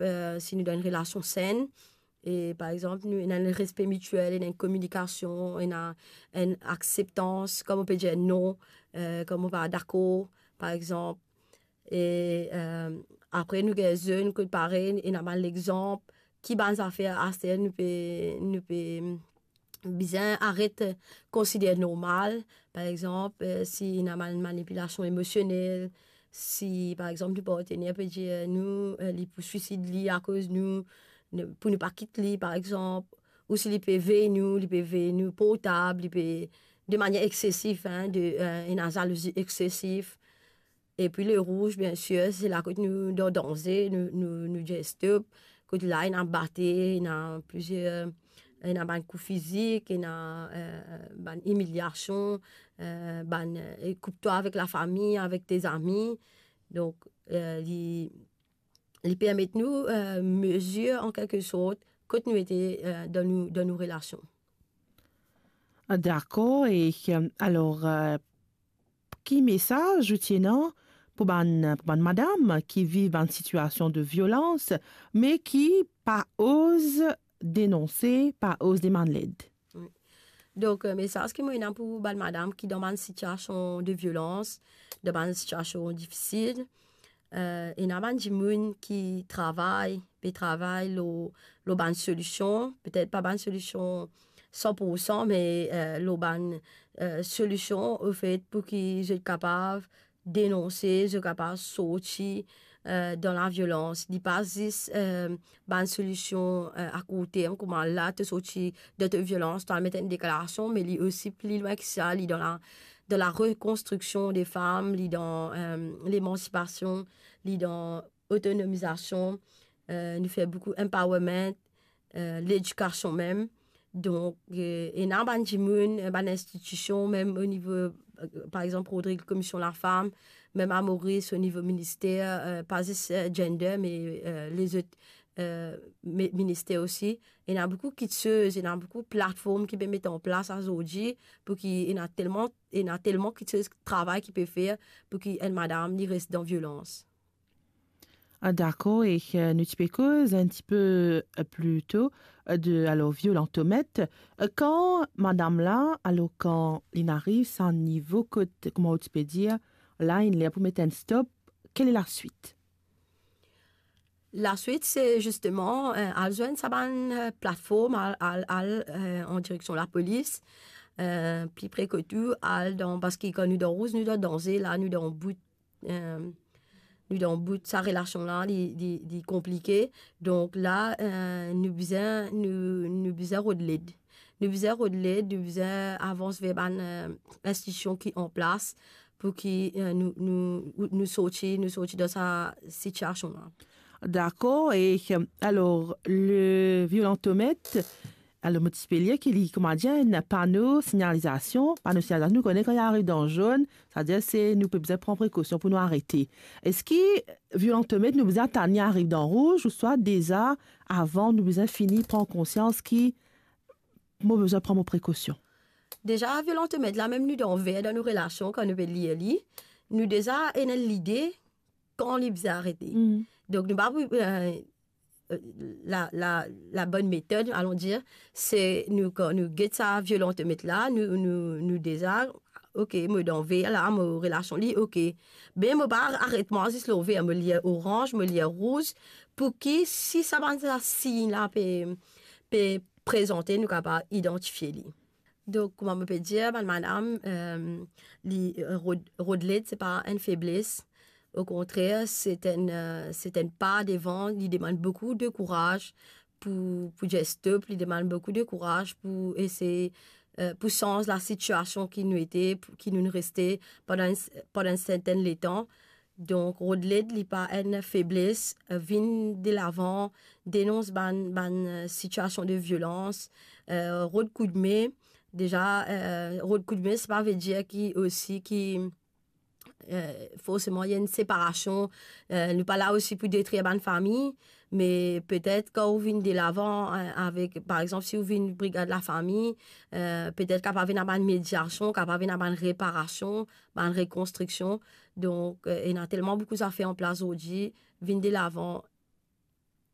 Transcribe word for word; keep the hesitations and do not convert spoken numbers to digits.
eh, si nou dan enn relasion senn, e par exanp, nou ena enn respe mitiel, ena enn kominikasion, ena enn akseptans, kan mo pe dir non, eh, kan mo pa dakor, par exanp. E, eh, apre nou gagn zenn kot parey, ena bann lexanp, ki bann zafer aster nou pe, nou pe, bizin aret konsider normal. Par exanp, eh, si ena bann manipilasion emosionel, si, par exanp, nou partener pe dir nou, eh, li pou swisid li akoz nou, nou, pou nou pa kit li, par exanp, ou si li pe vey nou, li pe vey nou portab, li pe, de manier eksesif, hein, de, eh, ena zalouzi eksesif. Epi le rouz, biensir, se la kot nou dan danze, nou, nou, nou dir stop. Kot la, ena bate, ena plizier, ena bann kou fizik, ena, eh, bann imiliasion, eh, bann, eh, koup twa avek lafami, avek tes amis. Donk, eh, li, li permet nou, eh, mezir, an kelke sort, kot nou ete, eh, dan nou, dan nou relasion. Ah, dakor. E, eh, alor, eh, ki mesaz ou ti ena pou bann, pou bann madam ki viv bann sitiasion de violans, me ki pa oz denonse, pa oz demann led? Wi. Donk, eh, mesaz ki mo ena pou bann madam ki dan bann sitiasion de violans, dan bann sitiasion difisil, eh, ena bann dimoun ki travay, pe travay lor, lor bann solision, petet pa bann solision san pou san, me, eh, lor bann, eh, solision, ofet, pou ki zot kapav denonse, zot kapav sorti, eh, dan laviolans. Li pa zis, eh, bann solision, eh, a kourt term, kouma la to sorti dan to violans, to al met enn deklarasion, me li osi pli lwin ki sa, li dan la, dan larekonstriksion de fam, li dan, eh, lemansipasion, li dan otonomizasion, eh, nou fer boukou empowerment, eh, ledikasion mem. Donk, eh, ena bann dimoun, eh, bann institision, mem o nivo, eh, par exanp, Rodrig, Komision Lafam, mem a Moris, o nivo minister, eh, pa zis, eh, gender, me, eh, lezot, eh, mi-, minister osi. Ena boukou kiksoz, ena boukou platform ki pe met an plas azordi, pou ki ena telman, ena telman kiksoz, travay ki pe fer pou ki enn madam li res dan violans. Ah, dakor, e, eh, nou ti pe koz enn tipe, eh, pli to, eh, de, alor, violantomet. Eh, kan madam la, alor, kan li ariv sa nivo kot, kouma ou ti pe dir, la, inn ler pou met enn stop, kel e laswit? Laswit, se zisteman, eh, al zwenn sa bann, eh, platform, al, al, al, eh, an direksion lapolis, eh, pli pre kot ou, al dan, parski kan nou dan rouz, nou dan danze, la, nou dan bout, eh, nou dan bout sa relasion la, li, li, li konplike. Donk la, eh, nou bizin, nou, nou bizin rod led. Nou bizin rod led, nou bizin avans ver bann, eh, institision ki an plas pou ki, eh, nou, nou, nou sorti, nou sorti dan sa sitiasion la. Dakor, e, eh, alor, le violantomet, alor, mo ti pe lir ki li, kouma dir, enn pano sinyalizasion, pano sinyalizasion, nou kone kan li ariv dan zonn, savedir se nou pe bizin pran prekosion pou nou arete. Eski violantomet, nou bizin atann li ariv dan rouz, ouswa deza, avan, nou bizin fini pran konsians ki mo bizin pran mo prekosion? Deza, violantomet la, mem nou dan ver dan nou relasion, kan nou pe lir li, nou deza ena lide kan li bizin arete. Mm. Donk, nou pa pou, eh, eh, la, la, la bonn metod, alon dir, se nou, kan nou get sa violantomet la, nou, nou, nou deza, ok, mo dan ver la, mo relasion li, ok. Be mo pa aret mwa zis lor ver, mo lir oranz, mo lir rouz, pou ki si sa bann sa sign la pe, pe prezante, nou kapav idantifie li. Donk, kouma mo pe dir, bann madam, eh, li, eh, rod, rod led, se pa enn febles. Okontrer, se enn, eh, se enn pa devan, li demann boukou de kouraz pou, pou dir stop, li demann boukou de kouraz pou esey, eh, pou sanz lasitiasion ki nou ete, pou, ki nou reste pandan enn, pandan enn sertenn letan. Donk, rod led, li pa enn febles, eh, vinn delavan, denons bann, bann, eh, sitiasion de violans, eh, rod koudme. Deza, eh, rod koudme, sa pa ve dir ki osi ki, eh, forseman, ena enn separasion. Eh, nou pa la osi pou detrir bann fami, me petet kan ou vinn delavan, eh, avek, par exanp, si ou vinn brigad lafami, eh, petet kapav ena bann mediasion, kapav ena bann reparasion, bann rekonstriksion. Donk, eh, ena telman boukou zafer an plas zordi, vinn delavan,